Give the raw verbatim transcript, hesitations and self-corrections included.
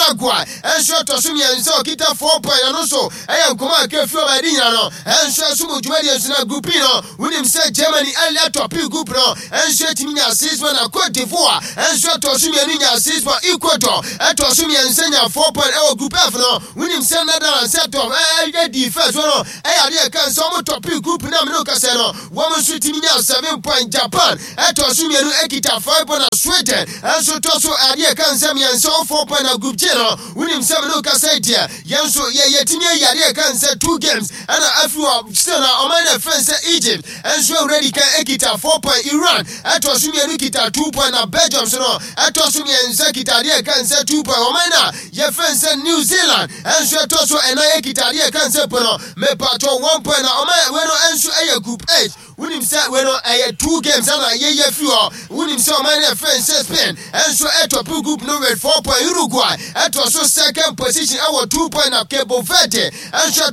Paraguay ɛnso ɛtɔ so mmiɛnsa, ɔkita four point. Ɛno nso ɛyɛ nkɔmɔ a kɛ fi ɔba ɛdi nyina no ɛnso ɛso mu dwumadie nso. Na Group E no, wonim sɛ Germany ɛlɛ top group no ɛnso ɛtumi nya six point, na Cote d'Ivoire ɛnso ɛtɔ so mmienu nya six point, Ecuador ɛtɔ so mmiɛnsa nya four point. Ɛwɔ Group F no, wonim sɛ Netherlands ɛtɔ ɛyɛ di first no, ɛyɛ adeɛ ɛka sɛ ɔmo top group na mene kɛsɛ no, wɔn nso tumi nya seven point. Japan ɛtɔ so mmienu ɛkita five point, na Sweden ɛnso tɔ so adeɛ ɛka nsɛ mmiɛnsa, four point. Na Group G no, wonim sɛ mene kɛsɛ deɛ, yɛn nso yɛ yɛtumi ayi adeɛ ɛka nsɛ two games ɛna afi hɔ. Still na ɔman no ɛfɛn sɛ Egypt ɛnso awura di kan ɛkita four point, Iran ɛtɔ so mmienu kita two point, na Belgium so no ɛtɔ so mmiɛnsa kita adeɛ ɛka nsɛ two point. Ɔman no a yɛfɛn sɛ New Zealand ɛnso ɛtɔ so ɛnan ɛkita adeɛ ɛka nsɛ po no mepatɔ one point. Na ɔman wei no ɛnso ɛyɛ Group H. Wonim sɛ wei no ɛyɛ two games ɛna yɛyɛ fi hɔ. Wonim sɛ ɔman no ɛfɛn sɛ Spain ɛnso ɛtop group no with four point, Uruguay ɛtɔ so second position ɛwɔ two point, na Cabo Verde ɛnso